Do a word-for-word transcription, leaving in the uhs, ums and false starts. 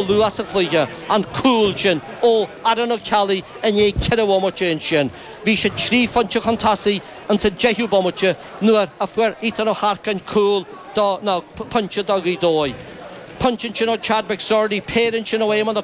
Luath sa chluiche, an cúl sin ó Aaron Ó Ceallaigh i ndiaidh ceithre bhomaite ansin. Bhí siad trí phointe chun tosaigh insa deichiú bomaite nuair a fuair Ethan Ó hEarcáin cúl do, nó pointe do Ghaoth Dobhair. Pointe ansin ó Chad McSorley, péire ansin ó Éamonn Ó